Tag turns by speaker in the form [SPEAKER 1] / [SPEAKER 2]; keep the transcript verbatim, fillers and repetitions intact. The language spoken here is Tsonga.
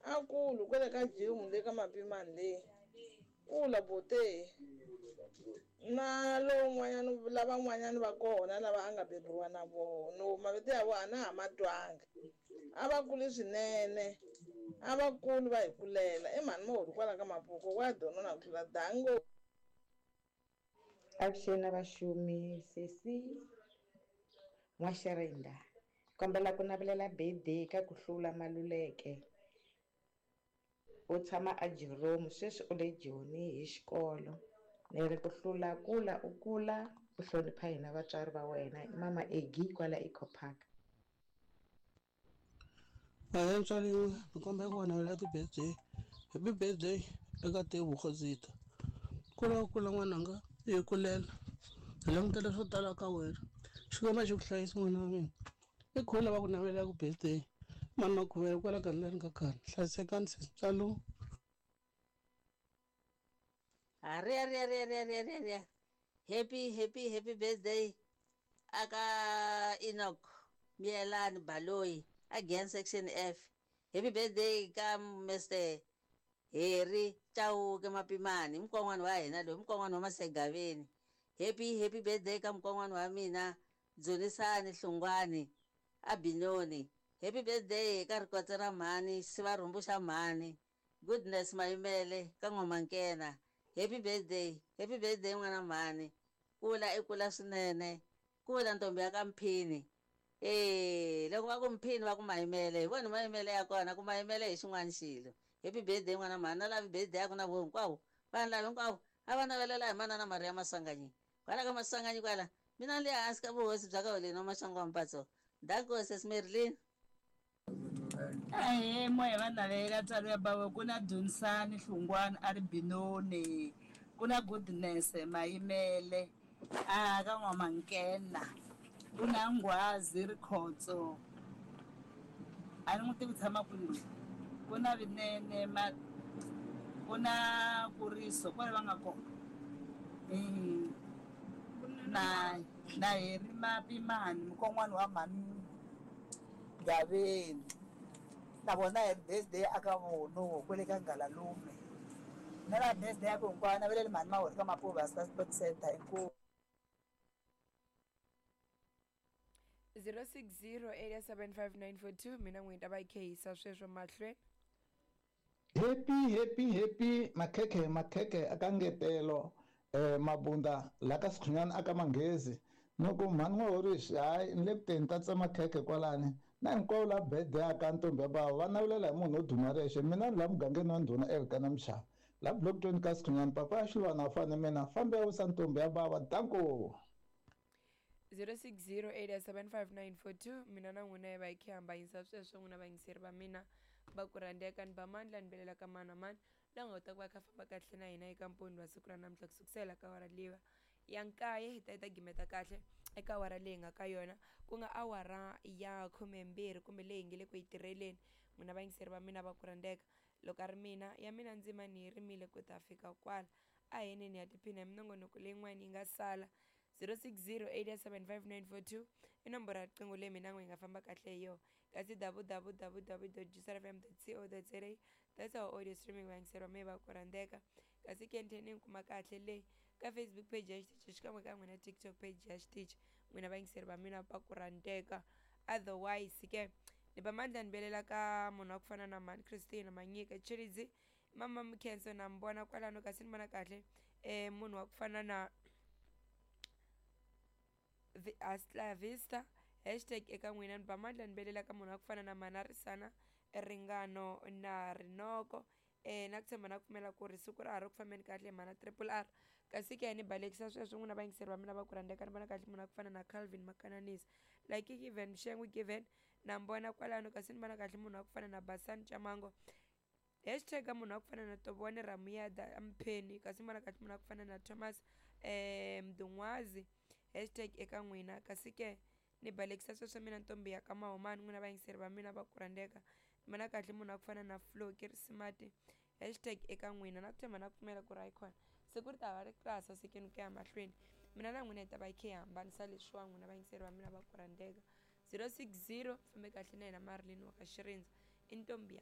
[SPEAKER 1] A kulu kwele ka gym le ka Mapimani le. Kula bote. Na lowun'wanyana lavan'wanyana va kona lava a nga beburiwa na vona no mavito ya vona a na ha ma twanga. A va kuli swinene. A va kuli va hi kulela. I mhani Mohori kwala ka Mapuku wa donona ku tlula dango.
[SPEAKER 2] Avuxeni vaxumi sesi N'waxirinda kombela ku navelela birthday ka ku hlula Maluleke u tshama a Jerome sweswi u le Joni hi xikolo ni ri ku hlula kula u kula u hlonipha hina vatswari va wena i mama Eggie kwala Eco Park.
[SPEAKER 3] Ahee mutswari ni kombela ku va navelela ti-birthday happy birthday eka Tebogo Zitha kula u kula n'wananga i hi kulela hi langutele swo tala ka wena Xikwembu a xi ku hlayisi n'wana wa mina i khulu lava ku navelelaka birthday mani makhuvele kwala gandzeni ka khale hlayisekani sesi Ntswalo.
[SPEAKER 4] Aria ria ria ria ria ria ria. Happy happy happy birthday aka Enoch Mielani Baloyi again section F. Happy birthday ka Mister Harry Chauke Mapimani mkon'wana wa hina loyi mkon'wana wa Masegaveni. Happy happy birthday ka mkon'wana wa mina Dzunisani Hlungwani Abinoni. Happy birthday ka Rikotse ra mhani Sivarhumbu xa mhani Goodness Mayimele ka N'wamankena. Happy birthday, happy birthday n'wana mhani. Kula i kula swinene. Kula ntombi ya ka Mphini. Eh, loko va ku Mphini va ku Mayimele, hi vona Mayimele ya kona ku Mayimele hi xin'wana xilo. Happy birthday n'wana mhani, na lavi birthday ya ku na vo hinkwavo. Vanhu lava hinkwavo a va navelela hi manana Maria Maswanganyi. Kwala ka Maswanganyi kwala, mina ni le hansi ka vuhosi bya ka Holeni wa Maxangu wa Mpatso. Danko sis Merlin.
[SPEAKER 5] Ahee moya va navelela ntswalo ya bava ku na Dunisani Hlungwani a ri Binoni ku na Goodness Mayimele a ka N'wamankena ku na Nghwazi Rikhotso a ni n'wi tivi tshama kwini ku na Vinene ma ku na Kuriso kwale va nga kona na na Heri Mapimani mukon'wana wa mhani Gaveni na vona hi birthday aka vono kwele ka Ngalalume na la birthday ya ku hinkwayo naveleli mhani Mahori ka Mapuva Sport Center inkomu.
[SPEAKER 6] zero six zero eight seven five nine four two mina n'wini ta va yi khehisa sweswo mahlweni.
[SPEAKER 7] Happy happy happy makhekhe makhekhe aka ngetelo eh mabunda la ka Sikhunyana aka Manghezi noko mhani N'wahorisi hayi ni le ku teni ta tsema khekhe kwalani na hinkwavo la birthday aka ntombi ya bava va navelela hi munhu wo duma rexe mina ni la mugangeni wa ndhuna Elkana Mshava la block twenty ka Sikhunyana papa ya Xilwana a fane mina fambe ya wisa ntombi ya bava danko.
[SPEAKER 6] zero six zero eight seven five nine four two mina na n'wina hi va hi khe hambanyisa sweswo n'wina vayingiseri va mina va ku rhandzeka ni ba mandla ni belela ka mani na mani la nga kota ku va kha famba kahle na hina eka mponi wa siku ra namuntlha ku sukusela ka awara leyi ya nkaye hi ta yi ta gimeta kahle eka awara leyi nga ka yona ku nga awara ya khumembirhi kumbe leyi nge le ku yi tirheleni n'wina vayingiseri va mina va ku rhandzeka loko a ri mina ya mina ndzima ni yi rimile ku ta fika kwala a heneni ya tiphina hi minongonoko leyin'wana yi nga sala zero six zero eight seven five nine four two i nomboro ya riqingho leyi mina n'we yi nga famba kahle hi yona kasi w w w dot juicerfm dot co dot za that's our audio streaming vayingiseri va mehe va ku rhandzeka kasi kenteni ni kuma kahle leyi ka Facebook page ya xitichi xikan'we ka n'wina TikTok page ya xitichi n'wina vayingiseri va mina va ku rhandzeka otherwise ke ni ba mandla ni belela ka munhu wa ku fana na mhani Christina Manyika Chiridzi mama Mkhenso na mi vona kwalano kasi ni vona kahle eh munhu wa ku fana na Hasta Vista hashtag eka n'wina ni ba mandla ni belela ka munhu wa ku fana na Manarisana Ringano na Rinoko eh na ku tshemba na ku pfumela ku ri siku ra ha ri ku fambeni kahle mhana triple R kasi ke ni balekisa sweswo n'wina vayingiseri va mina va ku rhandzeka ni vona kahle munhu wa ku fana na Calvin Makananisa like given Mshengwe given na mi vona kwalano kasi ni vona kahle munhu wa ku fana na Basani Chamango hashtag munhu wa ku fana na Tobone Ramuyada Mpheni kasi ni vona kahle munhu wa ku fana na Thomas eh Mdungwazi hashtag eka n'wina kasi ke ni balekisa sweswo mina ntombi ya ka Mahomani n'wina vayingiseri va mina va ku rhandzeka ni vona kahle munhu wa ku fana na Flo Kirisimati hashtag eka n'wina na ku tshemba na ku pfumela ku ri hayikhona siku ri ta va ri klasa sikeni ku ya mahlweni mina na n'wina hi ta va hi khe hi hambanisa leswiwa n'wina vayingiseri va mina va ku rhandzeka zero six zero fambe kahle na yena Marilyn wa ka Xirindza i ntombi ya